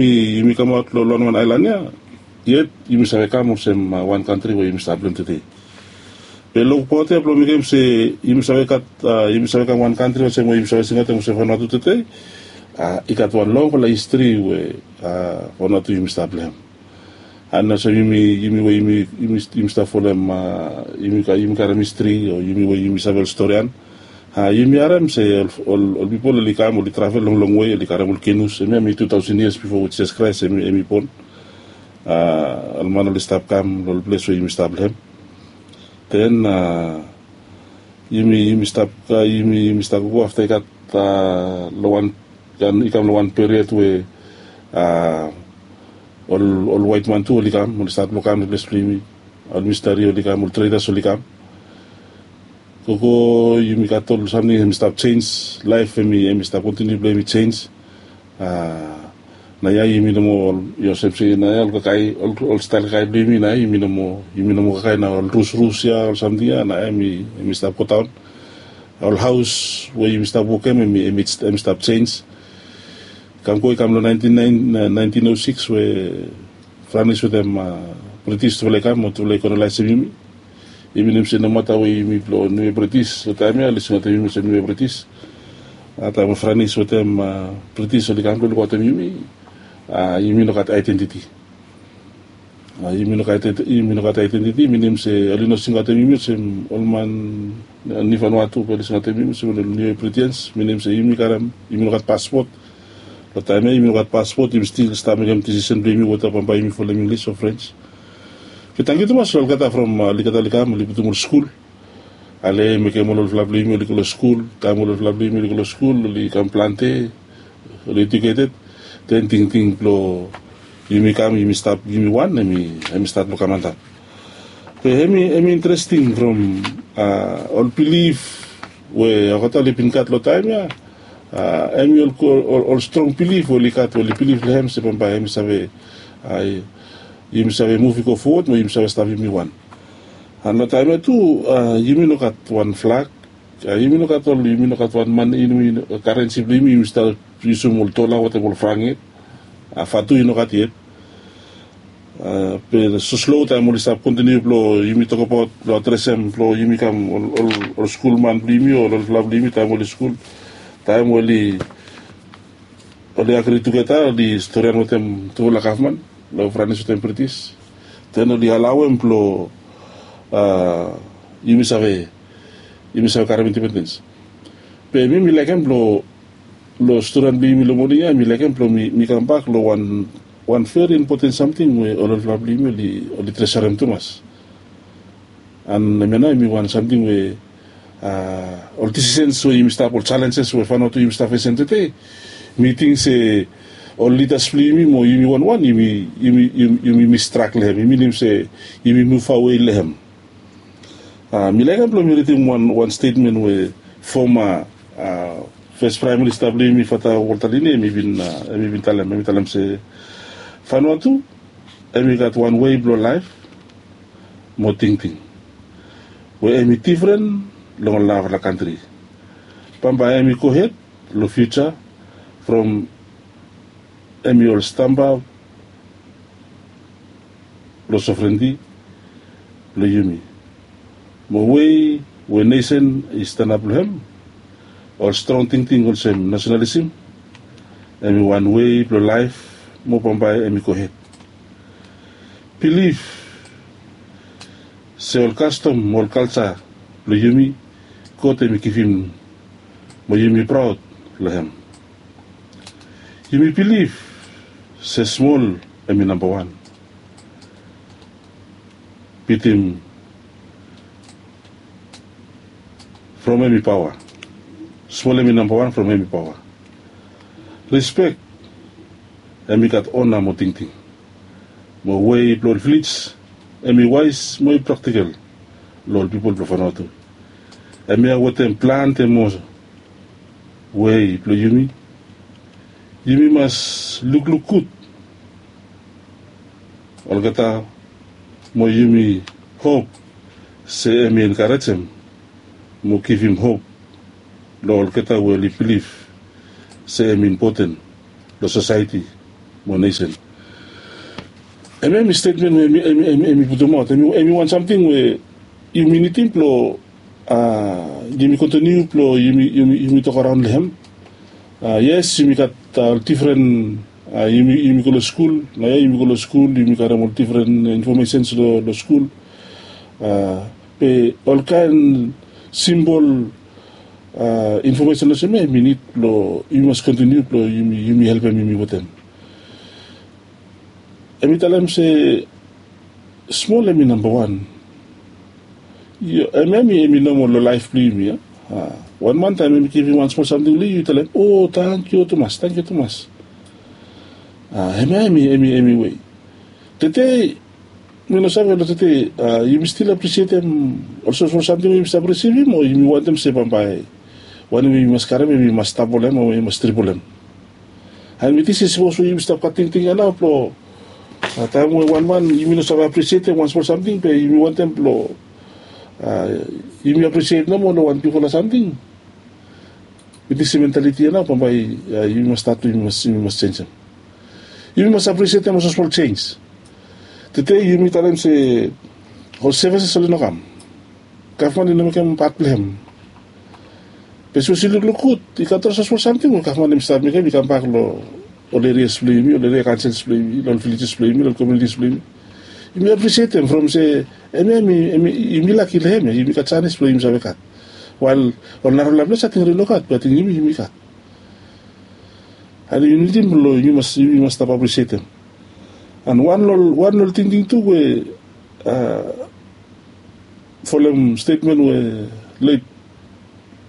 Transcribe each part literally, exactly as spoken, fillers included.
Yumi kamaot long wan aelan ya, yet yumi save kam olsem wan kantri we yumi stap long tede. Be long paot ya blong mekem se yumi save gat yumi save kam wan kantri olsem we yumi save singaot em olsem Vanuatu tede. I gat wan longfala histri we Vanuatu yumi stap long em. An olsem yumi yumi we yumi yumi stap folem yumi karim histri o yumi we yumi save ol storian. Yumi harem se ol pipol oli kam oli travel long long we oli karim ol kenus em ya mi tu taosen yias bifo we jisas kraes em i bon. Ol man oli stap kam long ol ples we yumi stap long em. Den yumi yumi stap yumi yumi stap go afta i gat long wan i kam long wan period we ol ol waitman tu oli kam oli stat blong kam long ples blong yumi. Ol misteri oli kam ol tredas oli kam. Gogo yumi gat ol samting em i stap sens laef em i em i stap kontiniu blong em i sens. Na ya yumi no moa olsem se na ya ol kakae ol stael kakae blong yumi na ya yumi no moa yumi no moa kakae na ol rusrus ya ol samting ya na ya em i stap godaon. Ol haos we yumi stap wokem em i stap sens. Kam go i kam long naentin o siks we franis wetem britis tufala i kam mo tufala i kolonaisim yumi. Yumi nem se nomata we yumi blong niu britis long taem ya oli singaotem yumi olsem niu britis. Taem we franis wetem britis oli kam blong lukautim yumi, yumi no gat aedentiti. Yumi no gat aedentiti minim se oli no singaotem yumi olsem ol man nifanua tu be oli singaotem yumi olsem ol niu britians minim se yumi karim yumi no gat paspot. Long taem ya yumi no gat paspot yumi stil stap mekem disisen blong yumi weta bambae yumi folem inglis o frens. Be tangkiu tumas long olgeta from olgeta oli kam oli putum ol skul. Ale mekem ol olfala blong yumi oli go long skul. Taem ol olfala blong yumi oli go long skul oli kam plante oli ejuketed. Den tingting blong yumi kam yumi stap yumi wan em i stat blong kam antap. Be em i interesting from ol bilif we olgeta oli bin gat long taem ya. Em i ol strong bilif we oli gat we oli bilif long em se bambae em i save yumi save muv i go fowod mo yumi save stap yumi wan. An long taem ya tu yumi no gat wan flak. Yumi no gat ol yumi no gat wan man yumi karensi blong yumi yumi stap yusum ol dola wetem ol frang yet. Fatu i no gat yet. Be so slo taem oli stap kontiniu blong yumi tokabaot blong adresem blong yumi kam ol skul man blong yumi o ol olfala blong yumi taem oli skul. Taem oli oli agri tugeta oli storian wetem tufala gavman long franis wetem britis. Den oli alauem blong yumi save yumi save karim indipendens. Be mi mi laikim blong long storian blong yumi long moning ya mi laikim blong mi kambak long wan wan veri impoten samting we ol olfala blong yumi oli tresarim tumas. An em ya nao em i wan samting we ol disisens we yumi stap ol salenses we fainot we yumi stap fesem tete. Mi ting se ol lidas blong yumi mo yumi wanwan yumi yumi yumi yumi mistrak long em yumi nim se yumi muv awe long em. Mi laikim blong mi ridim wan wan stetmen we foma fes praem minista blong yumi fata woltaline em i bin talem em i talem se fainot tu em i gat wan wei blong laef mo tingting we em i difren long ol narafala kantri. Bambae em i gohed long fiuja from em i ol stamba blong sovrenti blong yumi. Mo wei we nesen i stanap long em ol strong tingting olsem nasenalisim em i wan wei blong laef mo bambae em i gohed. Bilif se ol kastom mo ol kalja blong yumi god em i givim mo yumi praod long em. Yumi bilif se smol em i nambawan bitim from em i paoa. Smol em i nambawan from em i paoa. Rispek em i gat ona mo tingting mo wei blong ol vilij em i waes mo i praktikel long ol pipol blong fanua tu. Em ya wetem plante mo wei blong yumi yumi mas lukluk gud olgeta mo yumi hop se em i enkarejem mo givim hop long olgeta we oli bilif se em i impoten long sosaeti mo nesen. Hemia hemi stetmen we hemi putumaot, hemi wan samting we yumi nidim blong yumi kontiniu blong yumi tokaraon long hem. Yes, yumi gat ol difren, yumi go long skul, naoia yumi go long skul, yumi karim ol difren infomesens long skul. Be olkaen simpol infomesen olsem ya hemi nid blong yumi mas kontiniu blong yumi helpem yumi wetem. Hemi talem se smol hemi nambawan. Hemia hemi nomol long laef blong yumi ya. Wan man taem hemi givim wan smol samting long yu, yu talem, o, tangkiu tumas, tangkiu tumas. Hemia hemi wei. Tede mi no save long tede, yumi stil apresietem ol smosmol samting we yumi stap risivim, o yumi wantem se bambae wanem we yumi mas karim hemi mas dabol hem o hemi mas tribol hem? And mi ting se sapos we yumi stap gat tingting ya nao blong taem we wan man yumi no save apresietem wan smol samting be yumi wantem blong yumi apresiet nomo long wan bigfala samting. Mi ting se mentaliti ya nao bambae yumi mas stat, yumi mas sensem. Yumi mas apresietem ol smosmol sens. Tede yumi talem se ol sevises oli no kam. Gavman i no mekem pat blong hem. Be sapos yu lukluk gud, i gat ol smosmol samting we gavman hemi stap mekem i kambak long ol erias blong yumi, ol eria kaonsels blong yumi, long ol vilejes blong yumi, long ol komunitis blong yumi. Yumi apresietem from se hemia hemi, yumi laki long hemia, yumi gat janis blong yumi save gat. Wael ol narafala ples ating oli no gat, be ating yumi yumi gat. And yumi nidim blong yumi mas stap apresietem. And wan long ol tingting tu we folem stetmen we let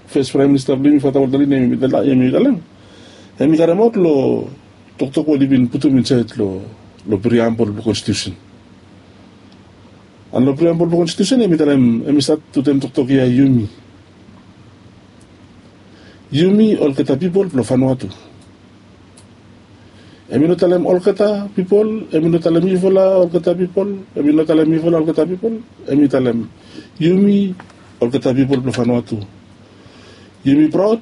fes praem minista blong yumi, Fata Walter Lin, hemi talem, hemi karemaot long toktok we oli bin putum insaed long priambol blong konstitiusen. And long priambol blong konstitiusen hemi talem, hemi stat wetem toktok ya, yumi. Yumi olgeta pipol blong Vanuatu. Hemi no talem olgeta pipol, hemi no talem yufala olgeta pipol, hemi no talem yufala olgeta pipol. Hemi talem yumi olgeta pipol blong Vanuatu. Yumi praod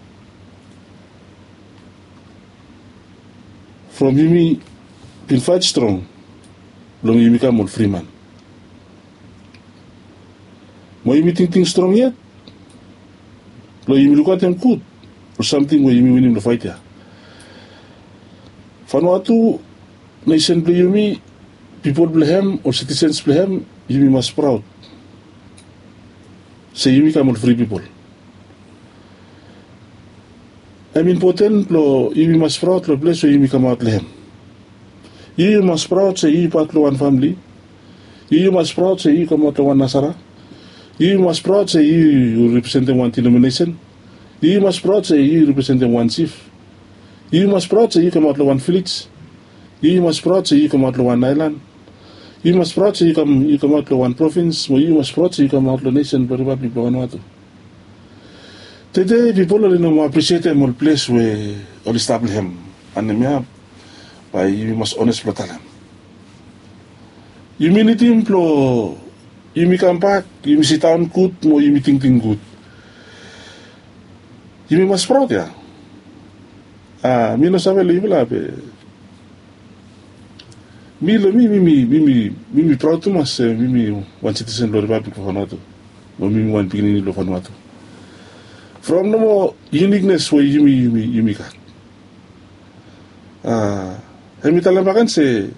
from yumi bin faet strong blong yumi kam ol fri man. Mo yumi tingting strong yet blong yumi lukaotem gud ol samting we yumi winim long faet ya. Vanuatu, nesen blong yumi, pipol blong hem, ol sitisens blong hem, yumi mas praod se yumi kam ol fri pipol. Hem impoten blong yumi mas praod long ples we yumi kamaot long hem. Yu yu mas praod se yu yu pat blong wan famle. Yu yu mas praod se yu yu kamaot long wan nasara. Yu yu mas praod se yu yu representem wan denominesen. Yu yu mas praod se yu yu representem wan jif. Yu yu mas praod se yu kamaot long wan vilej. Yu yu mas praod se yu kamaot long wan aelan. Yu yu mas praod se yu kamaot long wan provins, mo yu yu mas praod se yu kamaot long nesen blong Ripablik blong Vanuatu. Tede pipol oli no moa apresietem ol ples we oli stap long hem. And hemia bae yumi mas ones blong talem, yumi nidim blong yumi kambak, yumi sidaon gud mo yumi tingting gud. Yumi mas praod ya. A mi no save long yufala be mi long mi, mi mi praod tumas se mi mi wan sitisen blong Ripablik blong Vanuatu. Mo mi mi wan pikinini blong Vanuatu. From nomo yuniknes we yumi yumi gat, a hemi talem bakegen se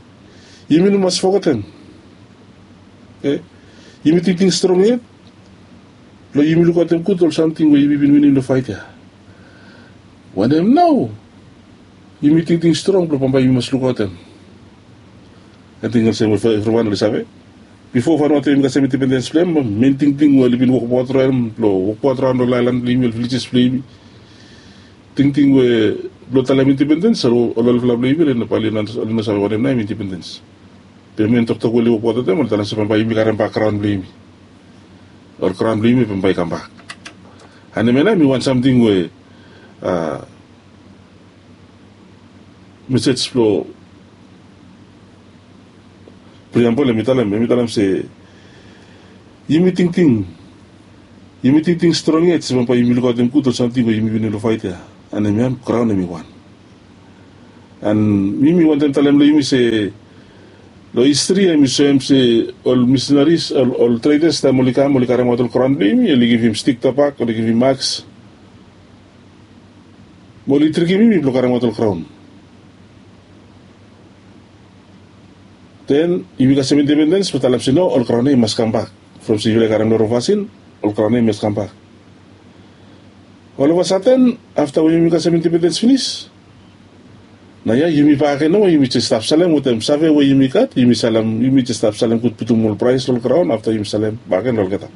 yumi no mas fogetem. Yumi tingting strong yet blong yumi lukaotem gud ol samting we yumi bin winim long faet ya. Wanem nao yumi tingting strong blong bambae yumi mas lukaotem? Ating olsem we evriwan oli save, bifo Vanuatu yumi kasem indipendens blong hem, men tingting we oli bin wokbaot raon blong wokbaot raon long aelan blong yumi, ol vilejes blong yumi, tingting we blong talem indipendens, ol olfala blong yumi oli no bae oli no save wanem nao hem indipendens. Be men toktok we oli wokbaot wetem oli talem se bambae yumi karem bak graon blong yumi. Ol graon blong yumi bambae i kambak. And hemia nao hemi wan samting we a mesej blong priambol hemi talem, hemi talem se yumi tingting, yumi tingting strong yet se bambae yumi lukaotem gud ol samting we yumi winim long faet ya. And hemia graon hemi wan. An mi mi wantem talem long yumi se long histri em i soem se ol misenaris ol tredas taem ol i kam ol i karimaot ol kraon blong yumi ol i givim stik tobak ol i givim maks, mo ol i trikim yumi blong karimaot ol kraon. Den yumi kasem independens blong talem se no, ol kraon ya i mas kambak. From se yufala i karem long rong fasin, ol kraon ya i mas kambak. Ol ovasaten afta we yumi kasem independens finis, nao ya yumi baken nomo yumi jes stap salem wetem save we yumi gat yumi salem yumi jes stap salem gud putum ol praes long ol kraon afta yumi salem baken long olgeta.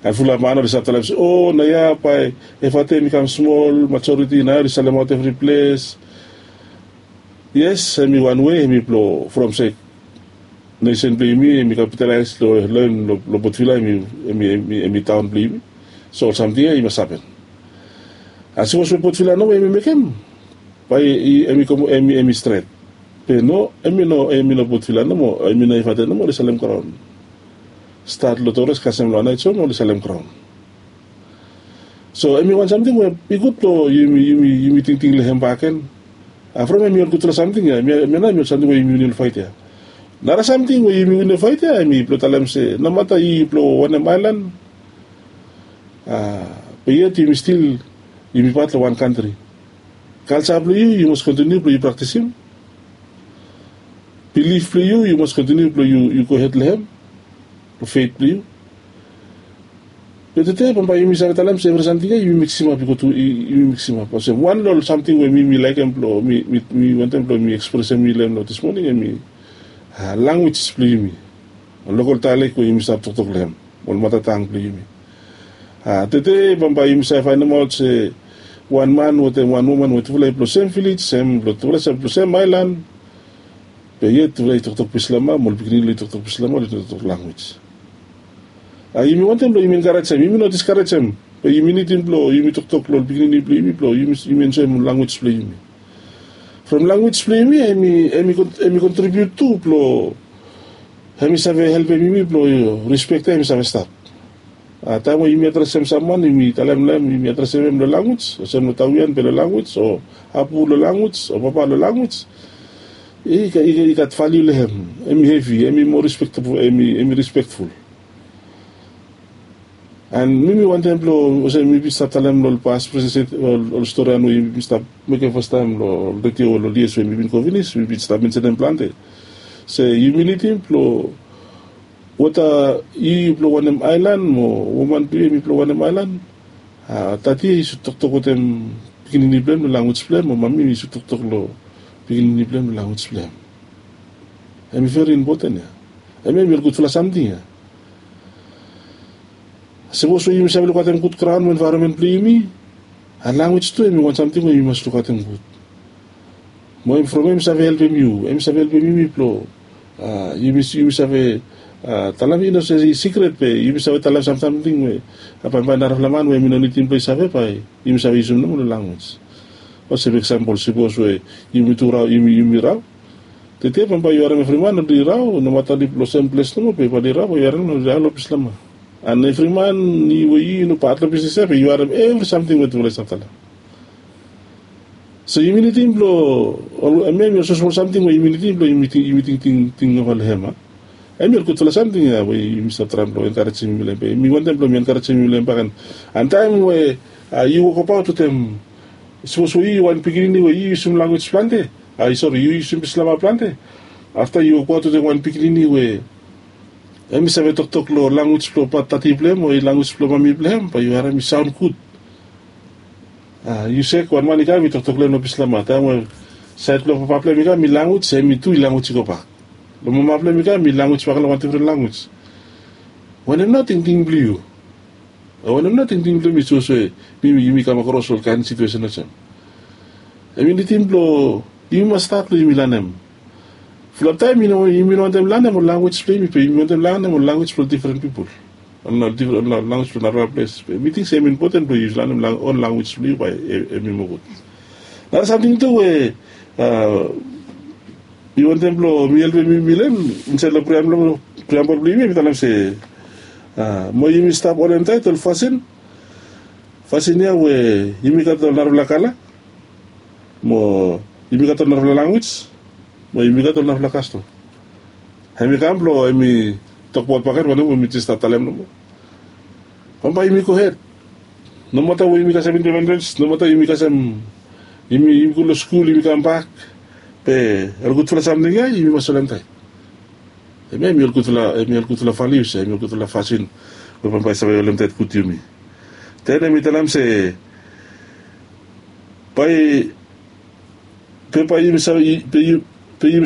An fulap man ol i stap talem se o nao ya bae evate em i kam smol majoriti nao ya ol i salemaot evri ples. Yes, em i wan we em i blong from se nesen blong yumi em i kapitalaes long em long potvila em i taon blong yumi. So ol samting ya i mas hapen. As sapos we potvila nomo em i mekem, bae em i stret. Be no, em i no potvila nomo, em i no evate nomo ol i salem graon. Stat long tores kasem long anaij hom ol i salem graon. So em i wan samting we i gud blong yumi tingting long hem baken. From em i ol gudfala samting ya em ya nao em i ol samting we yumi win long fait ya. Nara samting we yumi win long fait ya em i blong talem se nomata i blong wanem aelan, be yet yumi stil yumi pat long wan kantri. Kalsa blong yu yu mas kontiniu blong yu praktisim. Bilif blong yu yu mas kontiniu blong yu gohed long hem, long fet blong yu. Be tede bambae yumi save talem se evri samting ya yumi miksimap i go tu yumi miksimap olsem wan long ol samting we mi mi laikim blong mi wantem blong mi ekspresem mi long hem long dismoning em i languis blong yumi. Ol lokol daelek we yumi stap toktok long hem, ol matatang blong yumi. Tede bambae yumi save faenemaot se wan man wetem wan woman we tufala i blong sem vilej sem blong tufala sem blong sem aelan. Be yet tufala i toktok pislama mo ol pikinini long i toktok pislama long i toktok languis. Yumi wantem blong yumi enkarejem yumi no diskarejem, be yumi nidim blong yumi toktok long ol pikinini blong yumi blong yumi enjoem ol languis blong yumi. From languis blong yumi em i kontribiut tu blong em i save helpem yumi blong rispek ya em i save stap. Taem we yumi adresem samwan yumi talem long hem yumi adresem hem long languis olsem long tawian be long languis o apu long languis o papa long languis, i gat valiu long hem. Em i hevi em i moa rispektful. An mi mi wantem blong olsem mi bin stap talem long ol pas president ol storian we yumi bin stap mekem fastaem long ol redio long ol yias we mi bin go finis mi bin stap mensenem plante se yumi nidim blong weta yu yu blong wanem aelan mo woman blong yu em i blong wanem aelan. Dadi ya i sud toktok wetem pikinini blong hem long languis blong hem o mami i sud toktok long pikinini blong hem long languis blong hem. Em i veri impoten ya. Em ya em i ol gudfala samting ya. Sapos we yumi save lukaotem gud graon mo envaeronmen blong yumi, a languis tu em i wan samting we yumi mas lukaotem gud. Mo em from em i save helpem yu em i save helpem yumi blong yumi save talem i no se i sikret be yumi save talem samsamting we bambae narafala man we em i no nidim blong i save bae yumi save yusim nomo long languis. Olsem eksampol sapos we yumi tu rao yumi rao. Tede bambae yu harem evri man oli rao nomata oli blong sem ples nomo be bae oli rao bae yu harem oli rao long pislama. An evri man we yu no pat long bisnis ya be yu harem evri samting we tufala i stap talem. So yumi nidim blong em ya em i olsem smol samting we yumi nidim blong yumi tingting tingting nova long hem a. Em i ol gudfala samting ya we yumi stap traem blong enkarejem yumi long hem be mi wantem blong mi enkarejem yumi long hem baken. An taem we yu wokabaot wetem sapos we yu wan pikinini we yu yusim languis plante, ai sori yu yusim pislama plante, afta yu wokabaot wetem wan pikinini we em i save toktok long languis blong pat tati blong hem o languis blong mami blong hem bae yu harem i saon gud. Yu sek wan man i kam i toktok long hem long pislama taem we saed blong papa blong hem i kam i languis em i tu i languis i gobak. Long mama blong hem i kam i languis bak long wan difren languis. Wanem nao tingting blong yu? Wanem nao tingting blong mi sapos we mi yumi kam akros ol kaen situesen olsem? Em i nidim blong yumi mas stat blong yumi lanem. Fulap taem yumi no wantem lanem ol languis blong yumi be yumi wantem lanem ol languis blong difren pipol, ol languis blong narafala ples be mi ting se em i impoten blong yu lanem ol languis blong yu bae em i moa gud. Nara samting tu we mi wantem blong mi helpem yumi long hem insaed long priambol blong yumi em i talem se mo yumi stap onem taet ol fasin fasin ya we yumi gat ol narafala kala mo Yumi gat ol narafala lanwis, mo yumi gat ol narafala kastom. Hem i kam blong hem i tokbaot bakegen wanem we mi jes stap talem nomo. Bambae yumi gohed. Nomata we yumi kasem independens, nomata yumi kasem, yumi go long skul, yumi kambak, be ol gudfala samting ya yumi mas solemtaet. Hem ya hem i ol gudfala, hem i ol gudfala valius ya, hem i ol gudfala fasin we bambae i save solemtaet gud yumi. Den hem i talem se bae be bae yumi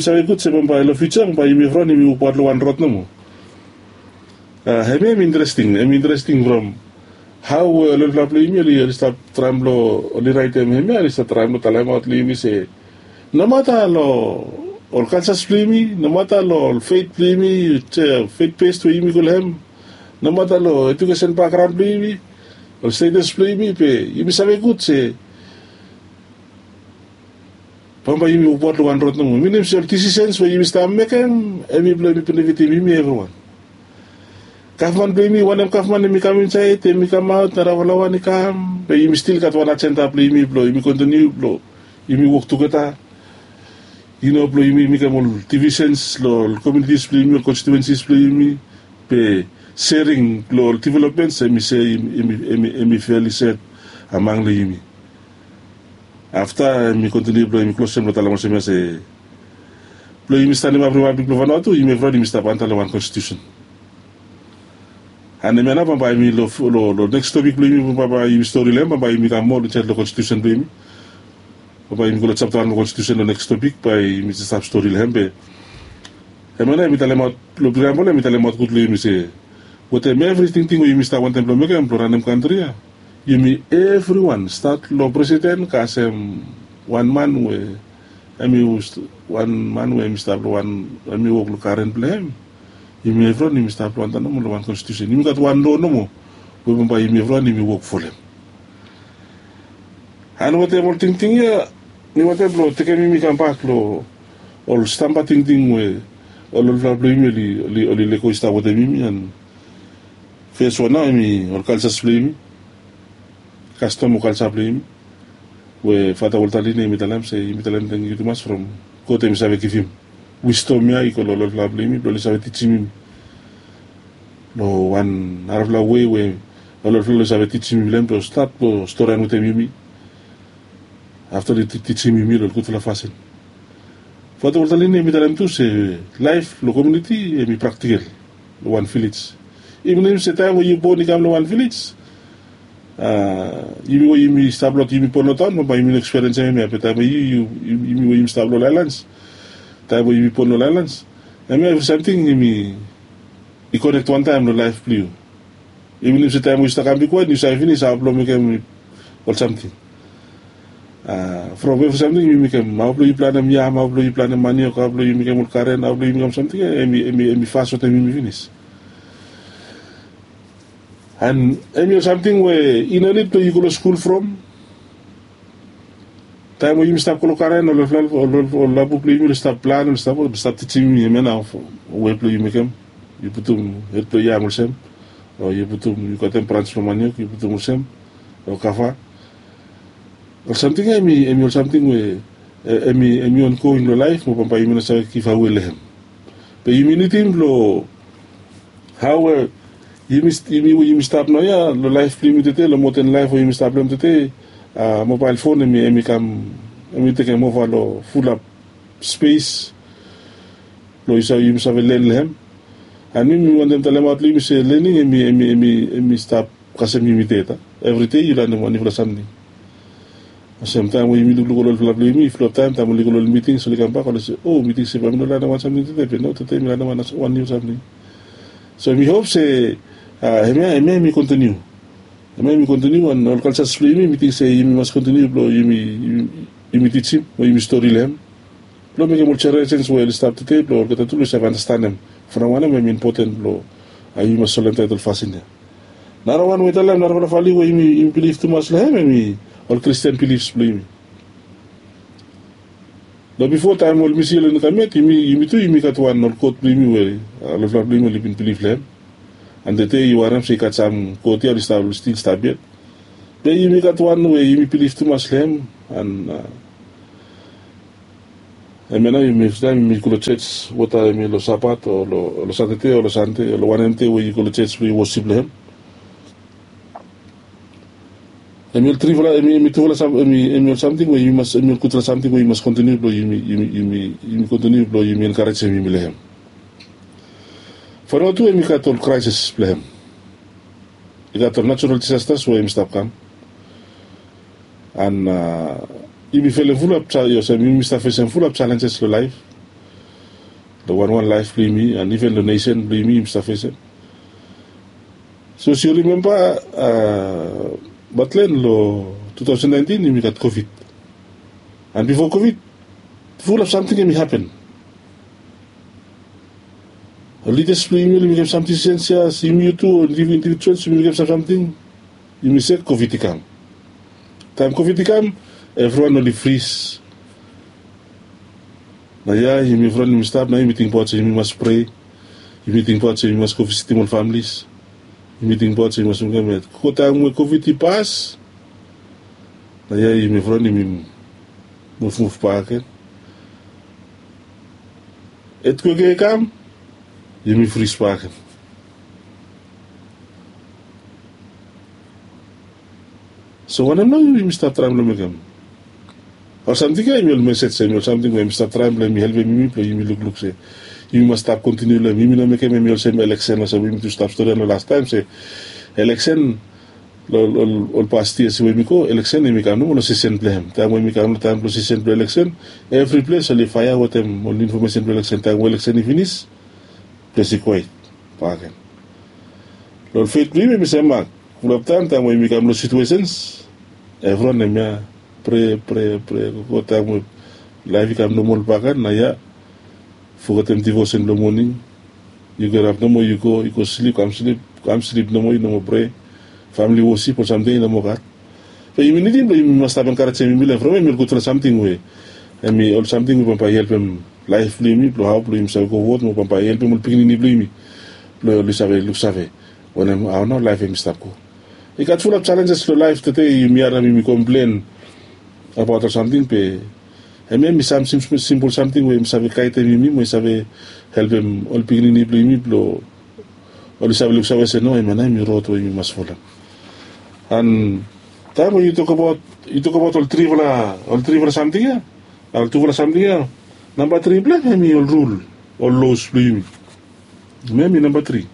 save gud se bambae long fiuja bambae yumi evriwan yumi wokbaot long wan rod nomo. Hem ya hem i interesting, hem i interesting from hao we ol olfala blong yumi oli stap traem blong oli raetem hem ya oli stap traem blong talemaot long yumi se nomata long ol kaljas blong yumi, nomata long ol fet blong yumi, fet bes we yumi go long hem, nomata long ejukesen bakgraon blong yumi, ol stetes blong yumi, be yumi save gud se bambae yumi wokbaot long wan rod nomo. Minim se ol disisens we yumi stap mekem hem i blong hem i benefitim yumi evriwan. Gavman blong yumi wanem gavman hem i kam insaed hem i kamaot narafala wan i kam be yumi stil gat wan ajenda blong yumi blong yumi kontiniu blong yumi wok tugeta. Yu no blong yumi mekem ol divisens long ol komunitis blong yumi ol konstitiuensis blong yumi, be sering long ol developmens hem i se hem i feli set amang long yumi. Afta hem i kontiniu blong hem i klosem blong talem olsem ya se blong yumi stanimap ripablik blong vanua tu yumi evriwan yumi stap anta long wan konstitiusen. An hem ya nao bambae hem i long neks topik blong yumi bambae yumi stori long hem bambae yumi kam moa long insaed long konstitiusen blong yumi. Bambae yumi go long japta wan long konstitiusen long neks topik bae yumi stap stori long hem be hem ya nao hem i talemaot long priambol hem i talemaot gud long yumi se wetem evri tingting we yumi stap wantem blong mekem blong ranem kantri ya, yumi evriwan stat long presiden kasem wan man we hem i wan man we hem i stap long wan hem i wok long karen blong hem. Yumi evriwan yumi stap long antap nomo long wan konstitiusen yumi gat wan lo nomo we bambae yumi evriwan yumi wok folem. An wetem ol tingting ya mi wantem blong tekem yumi kambak long ol stamba tingting we ol olfala blong yumi oli lego i stap wetem yumi an fes wan nao hem i ol kaljas blong yumi, kastom o kalja blong yumi we fata woltaline hem i talem se yumi talem tengiu tumas from god hem i save givim wisdom ya i go long ol olfala blong yumi blong oli save tijim yumi long wan narafala wei we ol olfala oli save tijim yumi long hem blong stat blong storian wetem yumi. Afta oli tijim yumi long ol gudfala fasin. Fata woltaline hem i talem tu se laef long komiuniti hem i praktikel long wan vilej. I minim se taem we yu bon i kam long wan vilej yumi we yumi stap long yumi bon long taon bambae yumi no ekspiriensim hem ya be taem we yu yumi we yumi stap long laelans taem we yumi bon long laelans hem ya evri samting yumi i konek wantaem long laef blong yu. Yu minim se taem we yu stap kam bigwan yu save finis hao blong mekem ol samting from evri samting yu mekem hao blong yu planem yam hao blong yu planem maniok hao blong yu mekem ol karen hao blong yu mekem samting ya hem i fas wetem yumi finis. An hem i ol samting we i no nid blong yu go long skul from taem we yumi stap go long karen ol labu blong yumi oli stap plan oli stap tijim yumi hem ya nao we blong yu mekem yu putum hed blong yam olsem o yu putum yu katem brans blong maniok yu putum olsem o kava. Ol samting ya hem i ol samting we hem i ongoing long laef mo bambae yumi no save givawe long hem. Be yumi nidim long hao we yumi we yumi stap naoia long laef blong yumi tede long moden laef we yumi stap long hem tede mobael fon hem i kam hem i tekem ova long fulap spes blong yu save yumi save len long hem. An mi mi wantem talemaot long yumi se lening hem i stap kasem yumi ded a evride yu lanem wan niufala samting. Olsem taem we yumi lukluk ol olfala blong yumi fulap taem taem oli go long ol miting oli kambak oli se o mi ting se bae mi no lanem wan samting tede be no tede mi lanem wan niu samting. So mi hop se hemia hemia yumi kontiniu hemia yumi kontiniu an ol kalsas blong yumi mi ting se yumi mas kontiniu blong yumi tijim o yumi stori long hem blong mekem ol jeneresen we oli stap tede blong olgeta tu oli save anastanem from wanem hem i impoten blong yumi mas solemtaet ol fasin ya. Narawan we i talem narafala valiu we yumi bilif tumas long hem hem i ol kristian bilifs blong yumi. Long bifo taem ol misi oli no kam yet yumi tu yumi gat wan ol god blong yumi we ol olfala blong yumi oli bin bilif long hem. An tede yu harem se i gat sam god ya oli stil stap yet. Be yumi gat wan we yumi bilif tumas long hem an Hemia nao yumi evri taem yumi go long jos, weta hemi long Sabat o long Satade o long Sande o long wanem dei we yu go long jos blong yu wosip long hem. Hemi ol trifala, hemi tufala, hemi ol samting we yumi mas, hemi ol gudfala samting we yumi mas kontiniu blong yumi kontiniu blong yumi enkarejem yumi long hem. Fo nao tu hemi gat ol kraesis blong hem. I gat ol natural disasters we hemi stap kam. An yumi felem fulap, olsem yumi stap fesem fulap jalenjes long laef, long wanwan laef blong yumi an iven long nesen blong yumi yumi stap fesem. So as yu rimemba, batlen long tu taosen naentin yumi gat kovid. An bifo kovid, fulap samting hemi hapen. Ol lidas blong yumi oli mekem sam disisen ya, yumi tu ol indivijuals yumi mekem sam samting, yumi sek, kovid i kam. Taem kovid i kam, evriwan oli fris. Nao ya yumi evriwan yumi stap nao yumi tingbaot se yumi mas prea. Yumi tingbaot se yumi mas go visitim ol familis. Yumi tingbaot se yumi mas mekem ya, go taem we kovid i pas, nao ya yumi evriwan yumi muvmuv bakegen. Etkwek ya i kam, yumi fris bakegen. So wanem nao yumi stap traem long mekem? Ol samting ya hemi ol mesej, hemi ol samting we hemi stap traem blong hemi helpem yumi blong yumi lukluk se yumi mas stap kontiniu long hem. Yumi no mekem hemi olsem eleksen olsem we yumi tu stap stori long lastaem se eleksen long ol past yias we yumi go, eleksen hemi kam nomo long sisen blong hem. Taem we hemi kam long taem blong sisen blong eleksen, evri ples oli faea wetem ol infomesen blong eleksen. Taem we eleksen i finis, ples i kwaet bakegen. Long ol fet blong yumi hemi sem mak. Fulap taem taem we yumi kam long situesens, evriwan hemia prea, prea, prea gogo taem we laef i kam nomol bakegen, nao ya fogetem divosen blong moning. Yu gerap nomo yu go, yu go slip, kam slip, kam slip nomo, yu no moa prea. Famili wosip ol samting ya i no moa gat. Be yumi nidim blong yumi mas stap enkarejem yumi long hem from hemi ol gudfala samting we hemi ol samting we bambae i helpem laef blong yumi blong hao blong yumi save go wod mo bambae i helpem ol pikinini blong yumi blong oli save luksave wanem, hao nao laef hemi stap go. I gat fulap jalenjes long laef tede, yumi harem yumi komplen abaot ol samting be hemia hemi sam simpol samting we hemi save gaedem yumi mo i save helpem ol pikinini blong yumi blong oli save luksave se no, hemia nao hemi rod we yumi mas folem. An taem we yu tokbaot, yu tokbaot ol trifala, ol trifala samting ya, ol tufala samting ya, namba tri blong hem hemi ol rul, ol los blong yumi. Hemia hemi namba tri.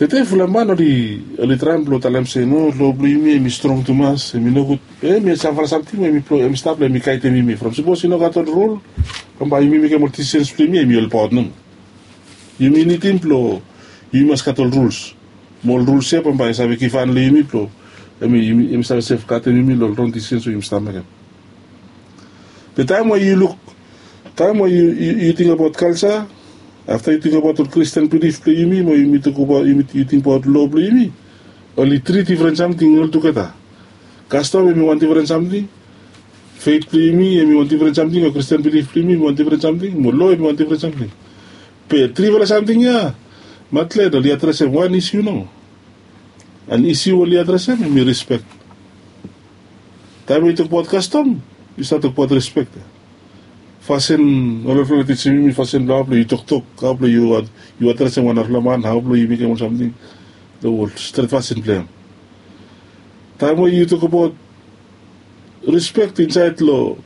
Tede fulap man oli, oli traem blong talem se no, lo blong yumi hemi strong tumas, hemi nogud. Be hemi samfala samting we hemi stap blong hemi gaedem yumi from sapos i no gat ol rul, bambae yumi mekem ol disisens blong yumi hemi olbaot nomo. Yumi nidim blong yumi mas gat ol ruls. Mo ol ruls ya bambae i save givhan long yumi blong hemi save sefgadem yumi long ol rong disisens we yumi stap mekem. Be taem we yu luk, taem we yu tingbaot kalja, afta yu tingbaot ol Kristin bilif blong yumi mo yumi tokbaot, yu tingbaot lo blong yumi, oli tri difren samting oltugeta. Kastom hemi wan difren samting, fet blong yumi hemi wan difren samting, o Kristin bilif blong yumi hemi wan difren samting, mo lo hemi wan difren samting. Be trifala samting ya, matlet oli adresem wan isiu nomo. An isiu oli adresem hemi rispek. Taem we yu tokbaot kastom, yu save tokbaot rispek. Fasin, ol olfala i tijim yumi fasin blong hao blong yu toktok, hao blong yu adresem wan narafala man, hao blong yu mekem ol samting long ol stret fasin blong hem. Taem we yu tokbaot rispek insaed long,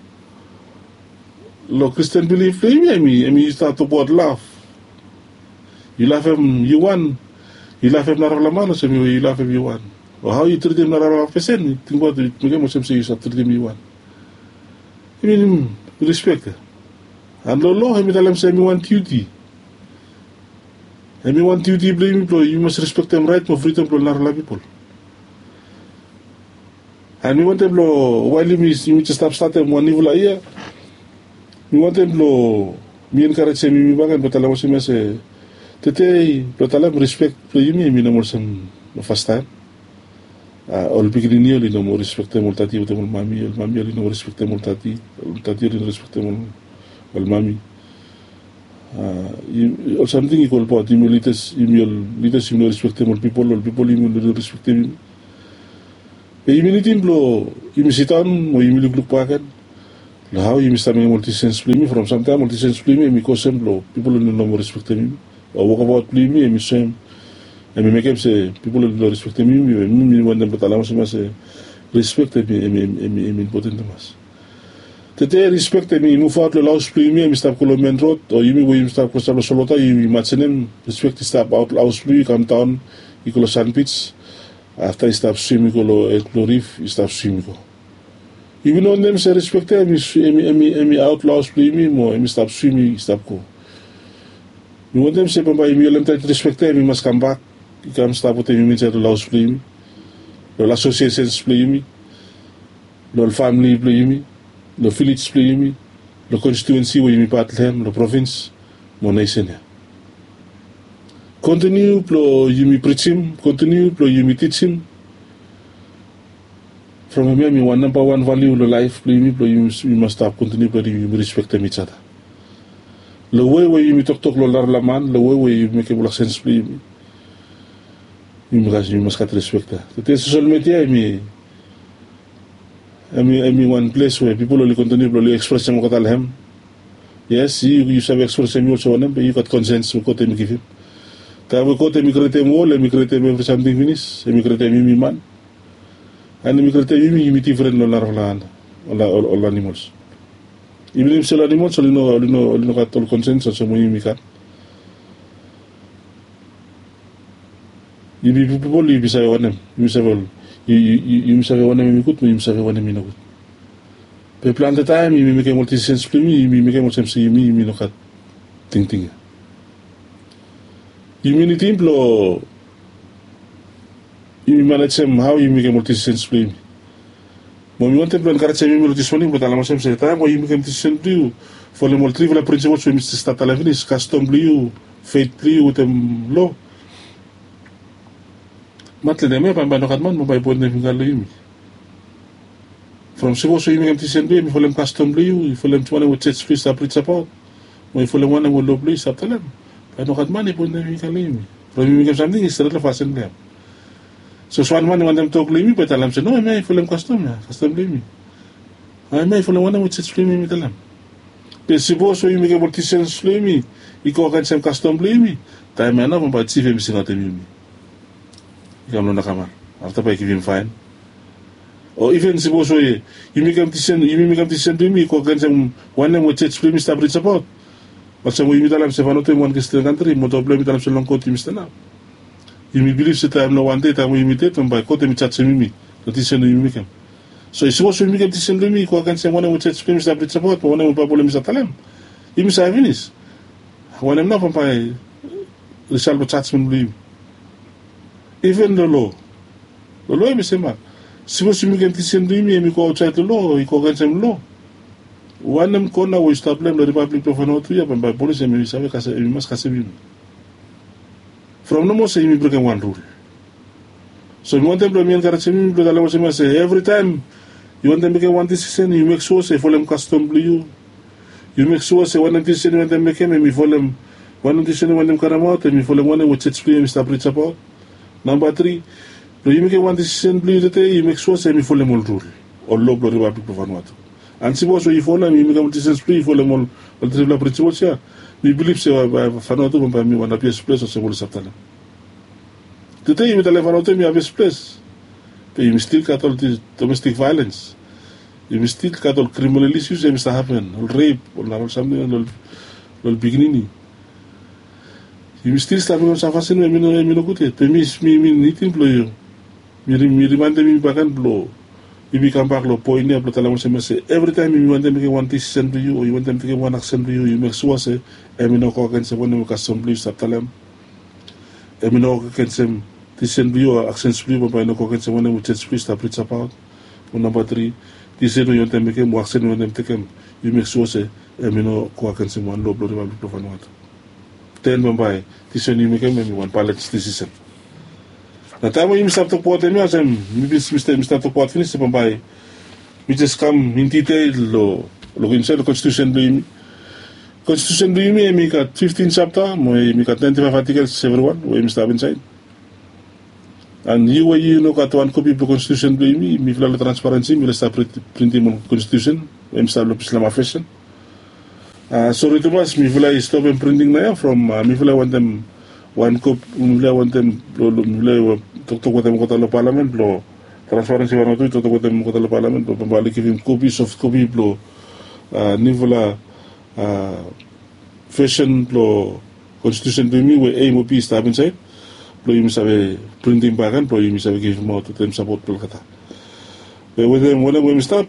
long Kristin bilif blong yumi, hemi, hemi yu stap tokbaot laf. Yu lafem yu wan, yu lafem narafala man olsem we yu lafem yu wan. O hao yu tritim narafala pesen, yu tingbaot yu mekem olsem se yu save tritim yu wan. I minim rispek ya. An long lo hemi talem se hemi wan diuti. Hemi wan diuti blong yumi blong yumi mas rispektem raet mo fridom blong narafala pipol. An mi wantem blong wael yumi, yumi jes stap statem wan niufala yia, mi wantem blong mi enkarejem yumi bakegen blong talem olsem ya se, tede blong talem rispek blong yumi hemi no moa olsem long fastaem. A, ol pikinini oli no moa rispektem ol dadi wetem ol mami, ol mami oli no moa rispektem ol dadi, ol dadi oli no rispektem ol, ol mami. A, ol samting i go olbaot yumi ol lidas, yumi ol lidas yumi no rispektem ol pipol, ol pipol yumi no rispektem yumi. Be yumi nidim blong yumi sidaon mo yumi lukluk bakegen Long hao yumi stap mekem ol disisens blong yumi, from samtaem ol disisens blong yumi em i kosem blong pipol oli no moa respektem yumi, o wokabaot blong yumi em i soem, em i mekem se pipol oli no respektem yumi. Em i wantem blong talem olsem ya se respek em i impoten tumas. Tede respek em i muvaot long laos blong yumi, em i stap go long men rod, o yumi we yumi stap klosap long solwota, yumi imajenem respek i stap aot long haos blong yu i kamdaon i go long sanbij, afta i stap swim i go long ed blong rif, i stap swim i go. Yumi no wantem se respek ya em i aot long haos blong yumi mo em i stap swim i stap go. Mi wantem se bambae yumi holem taet respek ya em i mas kambak i kam stap wetem yumi insaed long haos blong yumi, long ol asosiesens blong yumi, long ol famili blong yumi, long vilej blong yumi, long konstitiuensi we yumi pat long hem, long provins mo nesen ya. Kontiniu blong yumi prijim, kontiniu blong yumi tijim. From hemia em i wan nambawan valiu long laef blong yumi blong yumi mas stap kontiniu blong yumi respektem ijada. Long wei we yumi toktok long narafala man, long wei we yumi mekem ol aksens blong yumi, yumi mas gat respek ya. Tede sosel media em i em i wan ples we pipol oli kontiniu blong oli ekspresem olgeta long hem. Yes, yu save ekspresem yu olsem wanem be yu gat konsens we god em i givim. Taem we god em i krietem wol, em i krietem evri samting finis, em i krietem yumi man, and em i krietem yumi yumi difren long narafala ol animols. Iven yu se ol animols oli no gat ol konsens olsem we yumi gat. Yumi pipol yumi save wanem, yumi save wanem em i gud mo yumi save wanem i nogud. Be plante taem yumi mekem ol disisens blong yumi yumi mekem olsem se yumi yumi no gat tingting ya. Yumi nidim blong yumi manejem hao yumi mekem ol disisens blong yumi. Mo mi wantem blong enkarejem yumi long dismoning blong talem olsem se taem we yumi mekem disisen blong yu folem ol trifala prinsipols we mi stap talem finis, kastom blong yu, feit blong yu wetem lo, matlede em ya bambae nogat man bambae i poentem fingga long yumi. From sipos we yu mekem disisen blong yu em i folem kastom blong yu, i folem wanem we jej blong yu i stap rijabaot, mo i folem wanem we lo blong yu i stap talem, bae nogat man i poentem fingga long yumi. From yu mekem samting i stret long fasin blong hem. Sapos wan man i wantem tok long yumi bae i talem se no, hemia i folem kastom ya, kastom blong yumi. Hemia i folem wanem we jej blong yumi em i talem. Be sipos we yu mekem ol disisens blong yumi i go agensem kastom blong yumi, taem ya nao bambae jif em i singaotem yumi i kam long nakamal, afta bae i givim faen. O iven sipos we yumi mekem disisen blong yumi i go agensem wanem we jej blong yumi i stap rijabaot, olsem we yumi talem se Vanuatu em i wan Kristian kantri mo tokpela yumi talem se long god yumi stanap. Yumi bilif se taem long wan dei taem we yumi ded bambae god em i jajem yumi long disisen we yumi mekem. So i sipos we yumi mekem disisen blong yumi i go agensem wanem we jej blong yumi i stap rijabaot mo wanem we Baebol em i stap talem, yumi save finis wanem nao bambae risal blong jajmen blong yumi. Iven long lo, long lo em i sem ya. Sipos yumi mekem disisen blong yumi em i go aotsaed long lo o i go agensem lo, wanem kona we yu stap long hem long ripablik blong Vanuatu ya bambae polis em i save kasem, em i mas kasem yumi. From nomo se yumi brekem wan rul. So mi wantem blong mi enkarejem yumi blong talem olsem ya se evritaem yu wantem mekem wan disisen yu mek sua se i folem kastom blong yu. Yu mek sua se wanem disisen yu wantem mekem em i folem, wanem disisen yu wantem karemaot em i folem wanem we jej blong yu em i stap rijabaot. Namba tri, blong yu mekem wan disisen blong yu tede yu mek sua se em i folem ol rul o lo blong ripablik blong Vanuatu. And sipos we yu folem, yu mekem ol disisen blong yu yu folem ol trifala prinsipols ya, mi bilif se Vanuatu bambae em i wan hapies ples olsem oli stap talem. Tede yumi talem Vanuatu em i hapies ples, be yumi stil gat ol domestik vaelens. Yumi stil gat ol kriminal isus em i stap hapen, ol rep, ol narafala samting long ol pikinini. Yumi stil stap mekem sam fasin we em i nogud yet. Be mi nidim blong yu, mi rimaendem yumi bakegen blong yumi kambak long poen ya blong talem olsem ya se evritaem yumi wantem mekem wan disisen blong yu o yu wantem tekem wan aksen blong yu, yu mek sua se em i no go agensem wanem we kastom blong yu stap talem. Em i no go agensem disisen blong yu o aksens blong yu bambae i no go agensem wanem we jej blong yu stap rijabaot. Mo namba tri, disisen we yu wantem mekem o aksen we yu wantem tekem, yu mek sua se em i no go agensem wan lo blong ripablik blong Vanuatu. Den bambae disisen yu mekem em i wan balens disisen. Na taem we yumi stap tokbaot hemia olsem mi bin mi stap tokbaot finis se bambae mi jes kam in diteil long lukim insaed long konstitusen blong yumi. Konstitusen blong yumi em i gat fiftin japta mo em i gat naenti faef atikels evriwan we yumi stap insaed. And yu we yu no gat wan kopi blong konstitusen blong yumi, mifala long transparensi mifala stap printim ol konstitusen. em stap long pislama fesen. Sori tumas mifala i stopem printing nao ya from mifala i wantem wan kop mifala i wantem mifala i toktok wetem olgeta long palamen blong transparensi wan o tu i toktok wetem olgeta long palamen blong bambae oli givim kopi soft kopi blong niufala fesen blong konstitusen blong yumi we a mo b i stap insaed blong yumi save printing baken blong yumi save givimaot wetem sapot blong olgeta. Be wetem wanem we yumi stap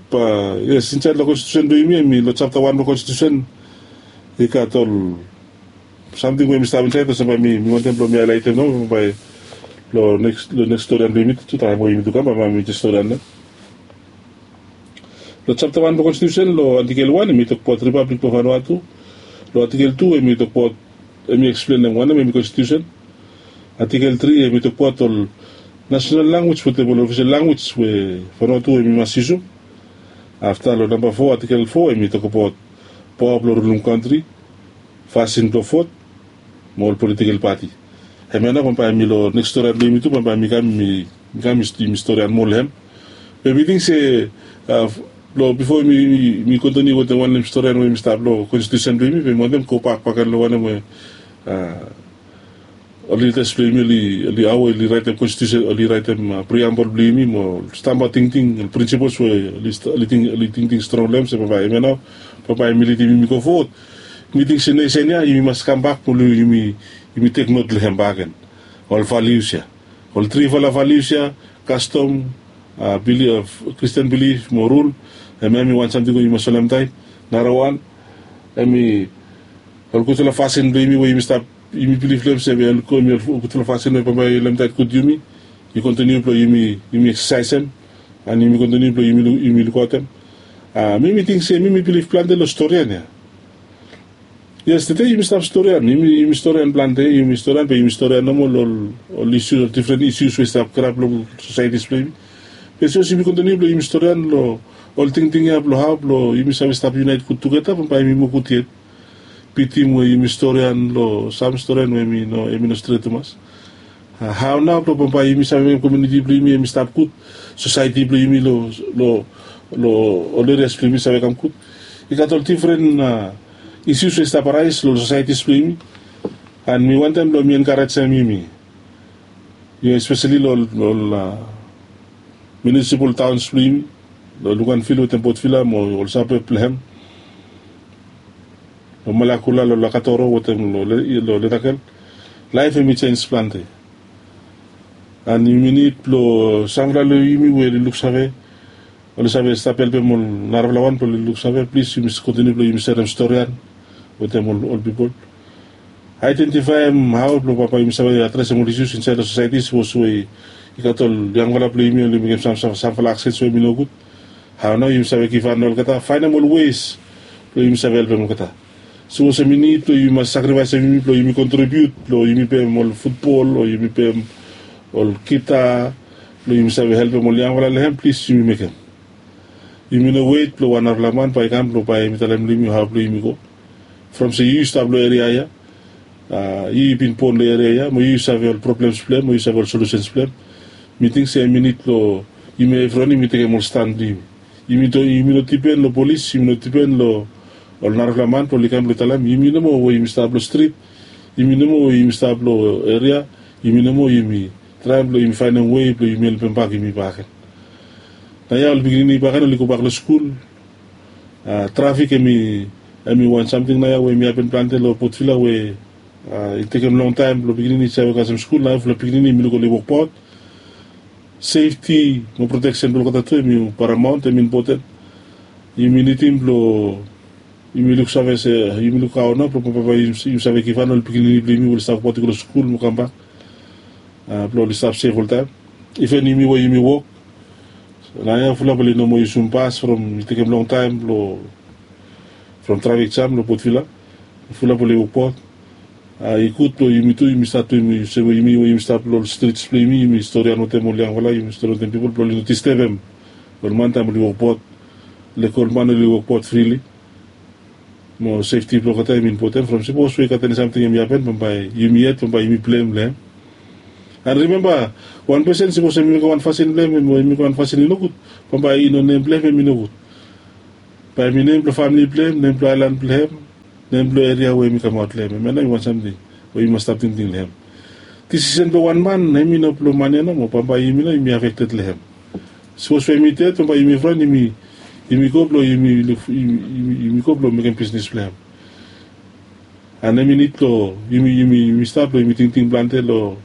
yes insaed long konstitusen blong yumi em i long japta wan blong konstitusen i gat ol samting we yumi stap insaed olsem bae mi wantem blong mi haelaetem nao bae long neks storian blong yumi tu taem we yumi tu kam bae mi jes storian nao. Long japta wan blong konstitusen long atikel wan em i tokbaot ripablik blong fanua tu. Long atikel tu em i tokbaot em i eksplenem wanem em i konstitusen. Atikel tri em i tokbaot ol nasenal languej wetem ol ofisel languej we fanua tu em i mas yusum. Afta long namba fo atikel fo em i tokbaot paoa blong rulum kantri, fasin blong vot mo ol politikel pati. Hemia nao bambae mi long neks storian blong yumi tu bambae mi kam mi kam mi storian moa long hem. Be mi ting se long bifo mi kontiniu wetem wanem storian we mi stap long konstitusen blong yumi be mi wantem gobak bakegen long wanem we ol lidas blong yumi oli hao oli raetem konstitusen oli raetem priambol blong yumi mo stamba tingting ol prinsipols we oli tingting strong long hem se bambae hemia nao bambae mi lidim yumi go fowod. Mi ting se nesen ya yumi mas kambak mo yumi tek not long hem bakegen. Ol valius ya ol trifala valius ya kastom kristian bilif mo rul. Hemia em i wan samting we yumi mas solemtaem. Narawan em i ol gudfala fasin blong yumi we yumi stap yumi bilif long hem se em i ol gudfala fasin we bambae i lemtaet gud yumi i kontiniu blong yumi eksasaesem an yumi kontiniu blong yumi lukaotem. Mi mi ting se mi mi bilif plante long storian ya. Yes tede yumi stap storian yumi storian plante yumi storian be yumi storian nomo long ol isus ol difren isus we i stap grap long sosaetis blong yumi. Be sapos yumi kontiniu blong yumi storian long ol tingting ya blong hao blong yumi save stap yunaet gud tugeta bambae yumi moa gud yet. Bitim we yumi storian long sam storian we em i no stret tumas. Hao nao blong bambae yumi save mekem kominiti blong yumi em i stap gud sosaeti blong yumi long ol erias blong yumi save kam gud. I gat ol difren isus we i stap araes long ol sosaetis blong yumi. An mi wantem blong mi enkarejem yumi espeseli long ol minisipol taons blong yumi long lukanvil wetem botvila mo ol sabeb blong hem. Long malakula long lakatoro wetem long ledakel laef hem i jens plante. An yumi nid blong samfala long yumi we oli luksave oli save stap helpem ol narafala wan blong oli luksave plis yumi kontiniu blong yumi serem storian wetem ol pipol. Aedentifaem hao blong bambae yumi save adresem ol isus insaed long sosaeti sapos we i gat ol yangfala blong yumi oli mekem samfala aksens we em i nogud. Hao nao yumi save givhan long olgeta faenem ol wes blong yumi save helpem olgeta. Sapos em i nid blong yumi mas sakrifaesem yumi blong yumi kontribiut blong yumi pem ol futbol o yumi pem ol gita blong yumi save helpem ol yangfala long hem plis yumi mekem. Yumi no wet blong wan narafala man bae i kam blong bae em i talem long yumi hao blong yumi go. From se yu yu stap long eria ya yu yu bin bon long eria ya mo yu yu save ol problems blong hem mo yu save ol solusens blong hem. Mi ting se em i nid blong yumi evriwan yumi tekem ol stan blong yumi. Yumi no dipen long polis yumi no dipen long ol narafala man blong oli kam blong talem yumi nomo we yumi stap long strit. Yumi nomo we yumi stap long eria. Yumi nomo yumi traem blong yumi faenem wei blong yumi helpem bak yumi bakegen. Naoia ol pikinini bakegen oli gobak long skul. Trafik em i wan samting naoia we em i hapen plante long potvila we i tekem longtaem blong pikinini i save kasem skul naoia fulap pikinini em i luk oli wokbaot. Sefti mo proteksen blong olgeta tu em i paramaon em i impoten. Yumi nidim blong yumi luksave se yumi luk hao nao blong bambae yumi save givhan ol pikinini blong yumi we oli stap wokbaot i go long skul mo kambak blong oli stap sef oltaem. Iven yumi we yumi wok naoia fulap oli no moa yusum bas from i tekem longtaem blong from trafik jam long potvila. Fulap oli wokbaot. I gud blong yumi tu yumi stat tu yumi olsem we yumi we yumi stap long ol strits blong yumi yumi storian wetem ol yangfala yumi storian wetem pipol blong oli no distebem ol man taem oli wokbaot. Lek ol man oli wokbaot frili mo sefti blong olgeta em i impoten from sipos we i gat eni samting em i hapen bambae yumi yet bambae yumi blem long hem. An rimemba wan pesen sipos em i mekem wan fasin blong hem o em i mekem wan fasin i nogud bambae i no nem blong hem em i nogud. Bae hem i nem blong famili blong hem, nem blong aelan blong hem, nem blong eria we hem i kamaot long hem. Hemia nao i wan samting we yumi mas stap tingting long hem. Disisen blong wan man hem i no blong man ya nomo, bambae yumi nao yumi afekted long hem. Sapos we hem i ded bambae yumi fran yumi go blong yumi go blong mekem bisnis blong hem. An hem i nid blong yumi stap blong yumi tingting plante long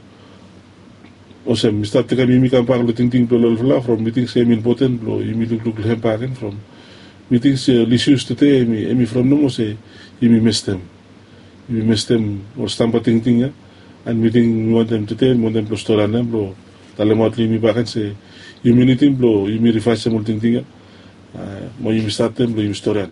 olsem mi stap tekem yumi kambak long tingting blong ol olfala from mi ting se hem impoten blong yumi lukluk long hem baken from mi ting se ol isius tude hem i from nomo se yumi mestem yumi mestem ol stamba tingting ya. An mi ting mi wantem tude mi wantem blong storian hem blong talemaot long yumi baken se yumi nidim blong yumi rivaesem ol tingting ya. Mo yumi statem blong yumi storian.